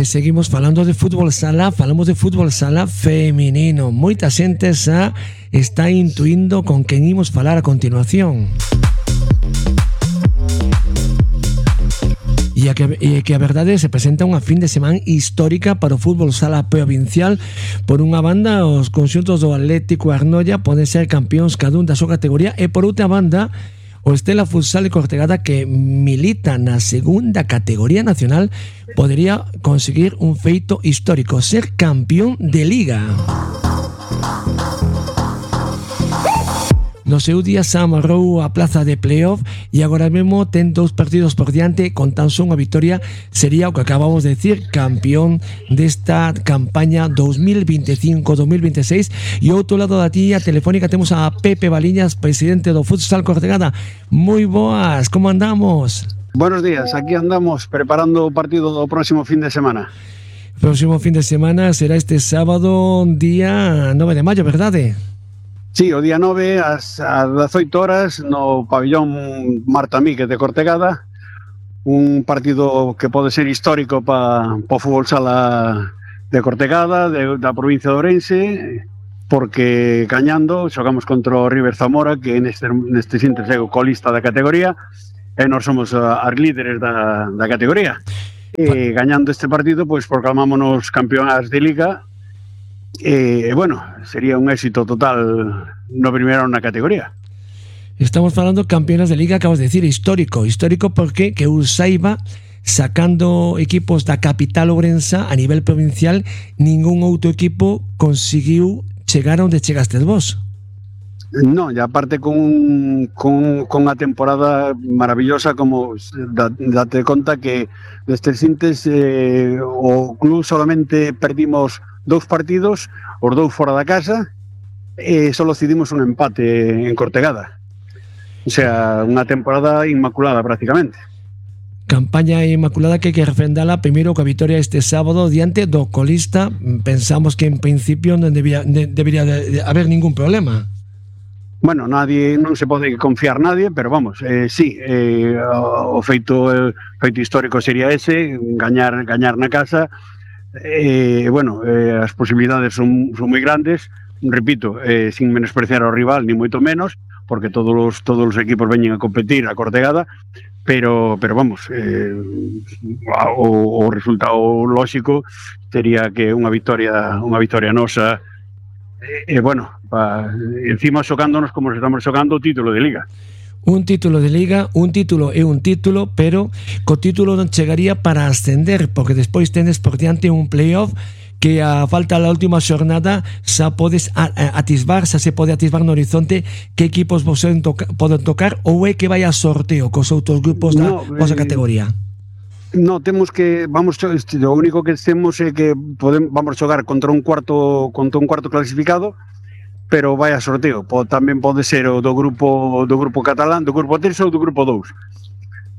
Seguimos falando de fútbol sala, falamos de fútbol sala feminino. Moita xente xa está intuindo con quen imos falar a continuación. E que a verdade se presenta unha fin de semana histórica para o fútbol sala provincial. Por unha banda, os conxuntos do Atlético e Arnoia poden ser campións cada un da súa categoría, e por outra banda, o Estela Futsal e Cortegada, que milita na segunda categoría nacional, podería conseguir un feito histórico, ser campeón de liga. No seu día se amarrou a plaza de playoff e agora mesmo ten 2 partidos por diante. Con tan só unha victoria sería o que acabamos de decir, campeón desta campaña 2025-2026. E ao outro lado da tía telefónica temos a Pepe Baliñas, presidente do Futsal Cortegada. Moi boas, como andamos? Buenos días, aquí andamos preparando o partido do próximo fin de semana. Próximo fin de semana será este sábado, día 9 de maio, verdade? Sí, o día 9 ás 18 horas no pabillón Marta Míguez de Cortegada, un partido que pode ser histórico para o fútbol sala de Cortegada, da provincia de Ourense, porque gañando xogamos contra o River Zamora, que neste instante é o colista da categoría, e nós somos as líderes da categoría. E gañando este partido, pois proclamámonos campeonas de liga. Bueno, sería un éxito total no primeiro na categoría. Estamos falando campeonas de liga, acabas de decir, histórico porque que eu saiba, sacando equipos da capital ourensa a nivel provincial, ningún outro equipo conseguiu chegar onde chegastes vos. Non, e aparte con a temporada maravillosa, como date conta que destes intes o club solamente perdimos 2 partidos, os 2 fora da casa, e só decidimos un empate en Cortegada. O sea, unha temporada inmaculada prácticamente. Campaña inmaculada que hai que refrendala primeiro coa vitoria este sábado diante do colista. Pensamos que en principio non debería haber ningún problema. Bueno, non se pode confiar nadie, pero vamos, sí, o feito histórico sería ese, gañar na casa. Bueno, as posibilidades son moi grandes, repito, sin menospreciar ao rival, ni moito menos, porque todos os equipos veñen a competir a Cortegada, pero vamos, o resultado lógico sería que unha victoria nosa, bueno, encima xogándonos como se estamos xogando o título de liga. Un título de liga, un título é un título, pero co título non chegaría para ascender, porque despois tenes por diante un playoff que a falta da última xornada xa podes atisbar, xa se pode atisbar no horizonte que equipos vos poden tocar, ou é que vai a sorteo cos outros grupos da vosa categoría? No, temos que o único que temos é que vamos xogar contra un cuarto clasificado, pero vai a sorteo. Tamén pode ser o do grupo catalán, do grupo 3 ou do grupo 2.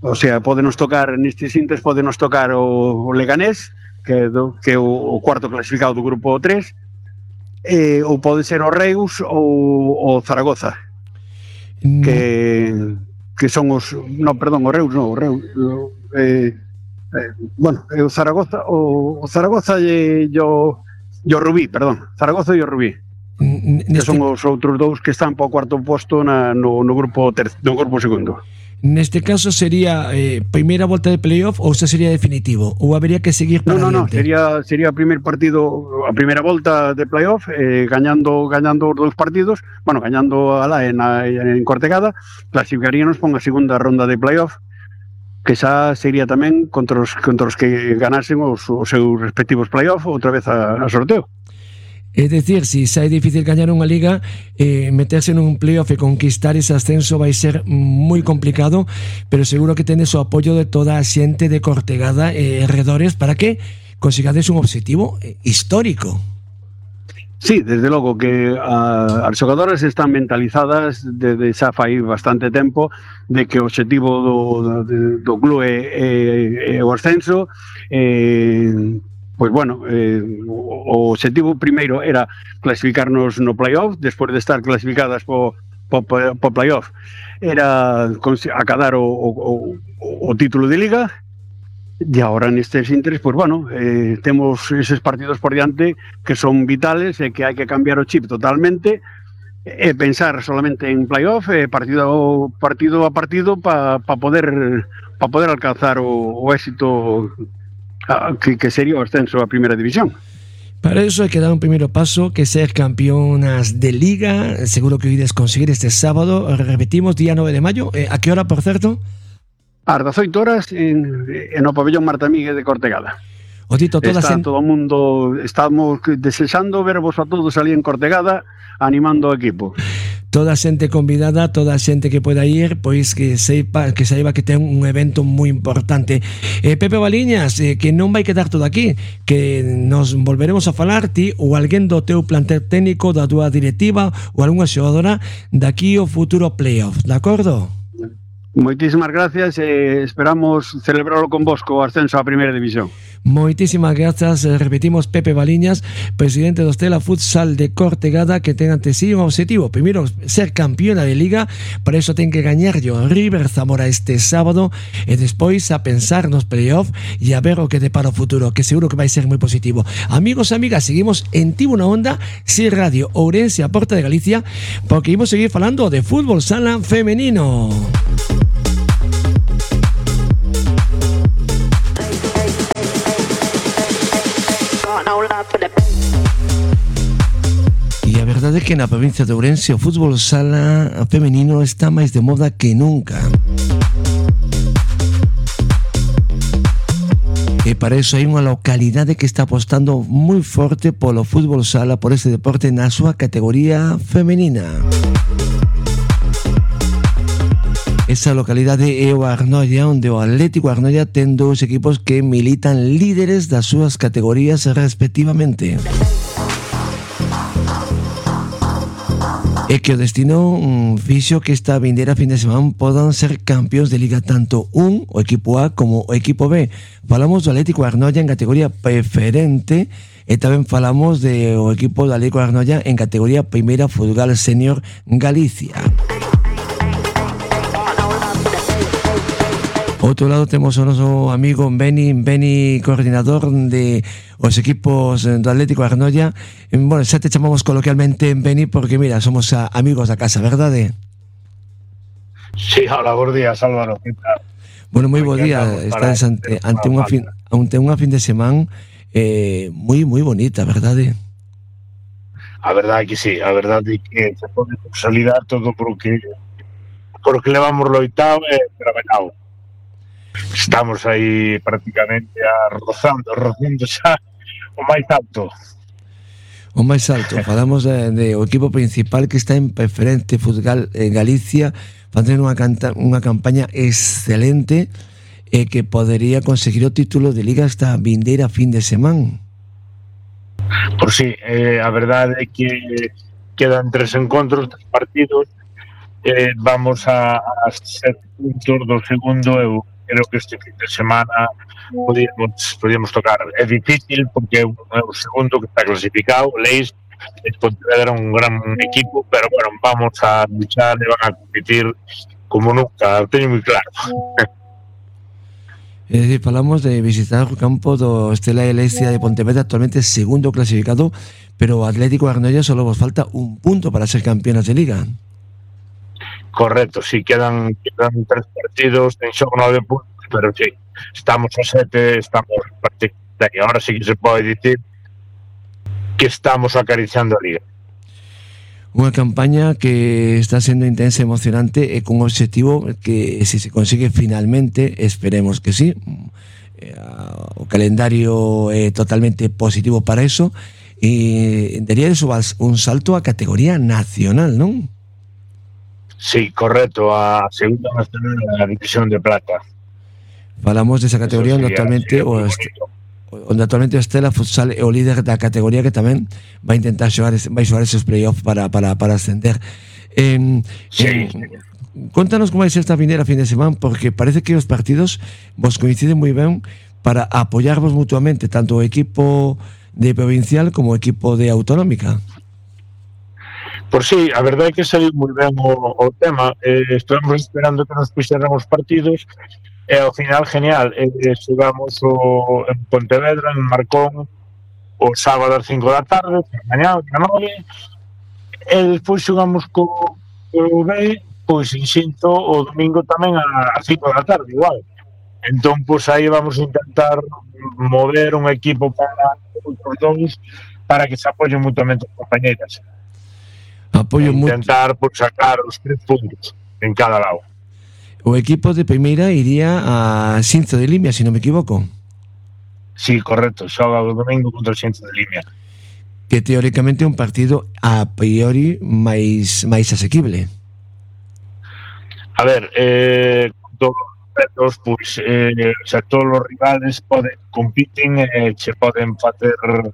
O sea, podenos tocar nestes intes, podenos tocar o Leganés, que é o cuarto clasificado do grupo 3, ou pode ser o Reus ou o Zaragoza, que son os... No, perdón, o Reus non, o Reus... bueno, o Zaragoza e o Rubí, perdón, Zaragoza e o Rubí, que son os outros 2 que están para o cuarto posto no grupo segundo. Neste caso sería primeira volta de playoff ou xa sería definitivo? Ou habería que seguir para adiante? Sería o primeiro partido, a primeira volta de playoff, gañando os 2 partidos, bueno, gañando alá en Cortegada, clasificaríanos para unha segunda ronda de playoff, que xa sería tamén contra os que ganasen os seus respectivos playoff outra vez a sorteo. É dicir, se xa é difícil gañar unha liga, meterse nun playoff e conquistar ese ascenso vai ser moi complicado, pero seguro que tenes o apoio de toda a xente de Cortegada e arredores para que consigades un objetivo histórico. Sí, desde logo que as xogadoras están mentalizadas desde xa fai bastante tempo de que o objetivo do club é o ascenso. Pois bueno, o objetivo primeiro era clasificarnos no playoff, despois de estar clasificadas po playoff, era acadar o título de liga, E agora nestes intres, pues bueno, temos eses partidos por diante que son vitales e que hai que cambiar o chip totalmente e pensar solamente en playoff, partido a partido para poder alcanzar o éxito que sería o ascenso a primeira división. Para eso hay que dar un primer paso, que ser campeonas de liga. Seguro que hoy conseguir este sábado. Repetimos, día 9 de mayo. ¿A qué hora, por cierto? Ás 18 horas en o pabellón Marta Míguez de Cortegada. Otito, todo o mundo, estamos desexando vervos a todos ali en Cortegada animando o equipo. Toda xente convidada, toda xente que pueda ir, pois que saiba que ten un evento moi importante. Pepe Valiñas, que non vai quedar todo aquí, que nos volveremos a falar ti ou alguén do teu plantel técnico, da tua directiva ou algunha xogadora daqui ao futuro playoff, de acordo? Moitísimas gracias e esperamos celebrarlo con vosco o ascenso a primeira división. Moitísimas grazas, repetimos, Pepe Valiñas, presidente do Stella Futsal de Cortegada, que ten ante sí un objetivo, primeiro ser campeona de liga, para iso ten que gañar o River Zamora este sábado e despois a pensar nos playoff e a ver o que depara o futuro, que seguro que vai ser moi positivo. Amigos e amigas, seguimos en Tivo na Onda, Si Radio Ourense, a Porta de Galicia, porque imos seguir falando de fútbol sala femenino. E a verdade é que na provincia de Ourense o fútbol sala femenino está máis de moda que nunca. E para iso hai unha localidade que está apostando moi forte polo fútbol sala, por este deporte na súa categoría femenina. Esa localidade é o Arnoia, onde o Atlético Arnoia ten dous equipos que militan líderes das súas categorías respectivamente. E que o destino fixo que esta vindeira fin de semana podan ser campeóns de liga tanto o equipo A como o equipo B. Falamos do Atlético Arnoia en categoría preferente e tamén falamos do equipo do Atlético Arnoia en categoría primeira Fútbol Senior Galicia. Outro lado temos o noso amigo Beni, coordinador de os equipos do Atlético Arnoia. Bueno, xa te chamamos coloquialmente Beni porque, mira, somos amigos da casa, verdade? Sí, hola, bons días, Álvaro. Bueno, moi bo día. Estás ante unha fin de semana moi bonita, verdade? A verdade que sí, a verdade que se pode consolidar todo porque levamos loitado e traballado. Estamos aí prácticamente rozando xa o máis alto. O máis alto, falamos de o equipo principal que está en preferente Fútbol en Galicia, facendo unha campaña excelente e que podería conseguir o título de liga esta vindeira fin de semana. Por si, a verdade é que quedan 3 encontros, 3 partidos, vamos a 7 puntos do segundo e creo que este fin de semana podíamos tocar. É difícil porque é o segundo que está clasificado, Leis, era un gran equipo, pero bueno, vamos a luchar e van a competir como nunca, teño moi claro. É dicir, falamos de visitar o campo do Stella Eleccia de Pontevedra, actualmente segundo clasificado, pero o Atlético Arnoia solo vos falta un punto para ser campeonas de liga. Correcto, sí, quedan 3 partidos, en xogo 9 puntos, pero sí, estamos a 7, estamos prácticamente, ahora sí que se pode dicir que estamos acariciando a liga. Unha campaña que está sendo intensa e emocionante e con un objetivo que, se se consigue finalmente, esperemos que sí, o calendario é totalmente positivo para eso, e daría eso un salto a categoría nacional, non? Sí, correcto, a segunda nacional da división de plata. Falamos desa categoría onde actualmente o Stella Futsal é o líder da categoría, que tamén vai intentar xogar esos playoffs para ascender. Sí. Contanos como vai ser esta vindeira fin de semana, porque parece que os partidos vos coinciden moi ben para apoyarvos mutuamente, tanto o equipo de provincial como o equipo de autonómica. Por si, a verdade é que saiu moi ben o tema. Estamos esperando que nos puxeran os partidos E ao final, genial, xogamos en Pontevedra, en Marcón, o sábado ás 5 da tarde, mañá, a 9, e despois xogamos co B, pois en Xinto o domingo tamén a 5 da tarde, igual. Entón, pois aí vamos a intentar mover un equipo para os dous para que se apoyen mutuamente as compañeras. Apoio intentar por sacar os 3 puntos en cada lado. O equipo de primeira iría a Xinzo de Limia, se non me equivoco. Sí, correcto, xoga o domingo contra o Xinzo de Limia. Que teóricamente é un partido a priori máis asequible. A ver, todos os pois, todos os rivales compiten e che poden facer o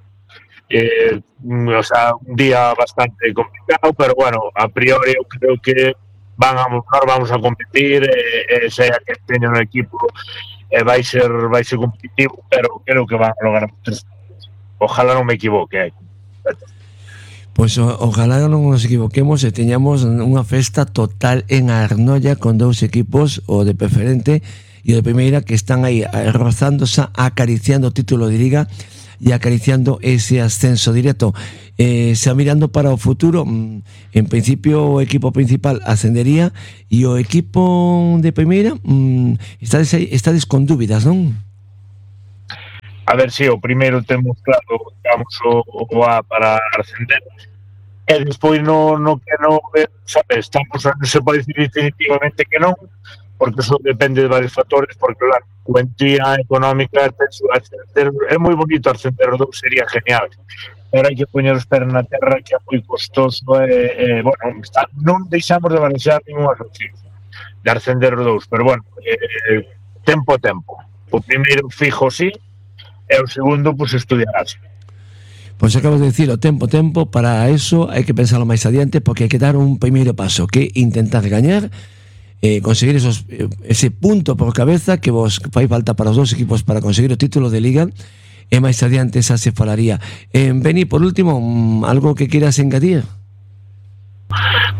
sea, un día bastante complicado, pero bueno, a priori eu creo que vamos a competir, sea que teña un equipo vai ser competitivo, pero creo que van a lograr 3 puntos. Ojalá non me equivoque. Pois ojalá non nos equivoquemos e teñamos unha festa total en Arnoia con 2 equipos, o de preferente e o de primeira, que están aí rozándose, acariciando o título de Liga e acariciando ese ascenso directo. Xa mirando para o futuro, en principio o equipo principal ascendería e o equipo de primeira estades con dúbidas, non? A ver, si, o primeiro temos claro, digamos, o A para ascender, e despois no que non, sabes, estamos, non se pode dicir definitivamente que non, porque eso depende de varios factores, porque la cuantía económica é moi bonito ascender o 2, sería genial, pero hai que poñer os pés na terra, que é moi costoso, bueno, non deixamos de balancear ninguna opción de ascender o 2, pero bueno, tempo. O primeiro fijo sí, e o segundo, pois, estudiarás. Pois acabas de dicir, o tempo, para eso hai que pensarlo máis adiante, porque hai que dar un primeiro paso, que intentar gañar, conseguir ese punto por cabeza que vos fai falta para os 2 equipos para conseguir o título de Liga, e máis adiante esa se falaría. Beni, por último, algo que quieras engadir?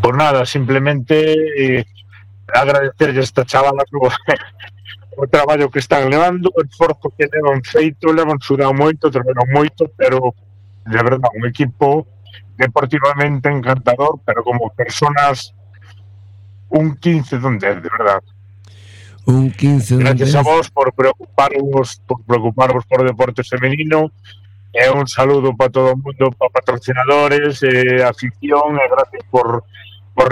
Por nada, simplemente agradecerlle a esta chavala o traballo que están levando, o esforzo que levan feito, levan sudado moito, traballan moito, pero de verdade, un equipo deportivamente encantador, pero como personas un 15 de un 10, de verdade. Un 15 de un 10. Gracias a vos por preocuparvos por o deporte femenino, e un saludo para todo o mundo, para patrocinadores, afición, e gracias por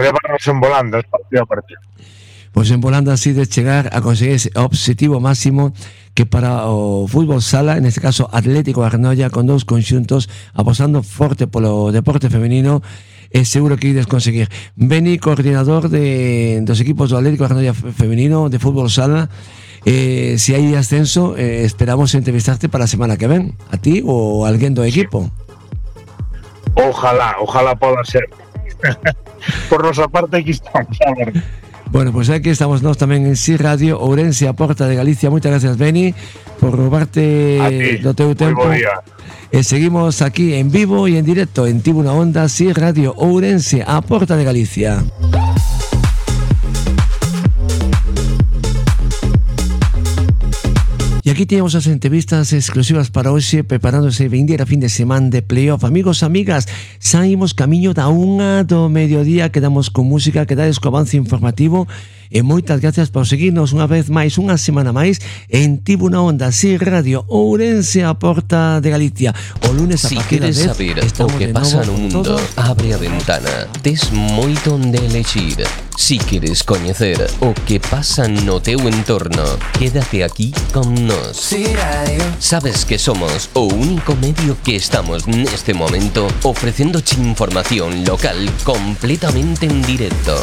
levarnos en volandas partido a partido. Pois en volanda así de chegar a conseguir ese objetivo máximo que para o fútbol sala, en este caso Atlético Arnoia, con 2 conxuntos apostando forte polo deporte femenino, é seguro que ides conseguir. Beni, coordinador dos equipos do Atlético Arnoia femenino de fútbol sala, se hai ascenso, esperamos entrevistarte para a semana que ven, a ti ou alguén do equipo. Ojalá poda ser. Por nosa parte aquí estamos, a ver. Bueno, pues aquí estamos nós tamén en Si Radio Ourense, a Porta de Galicia. Moitas gracias, Beni, por robarte do teu tempo. E seguimos aquí en vivo e en directo en Tribuna Onda, Si Radio Ourense, a Porta de Galicia. E aquí teñamos as entrevistas exclusivas para hoxe, preparándose vindeira fin de semana de playoff. Amigos, amigas, saímos camiño da 1 do mediodía, quedamos con música, quedades co avance informativo, e moitas gracias por seguirnos unha vez máis, unha semana máis, en Tribuna Onda, Si Radio Ourense, a Porta de Galicia. O lunes a partir das 10. Si queres saber o que pasa no mundo, abre a ventana, tes moito onde elexir. Si queres coñecer o que pasa no teu entorno, quédate aquí con nós. Si Radio. Sabes que somos o único medio que estamos neste momento ofrecéndoche información local completamente en directo.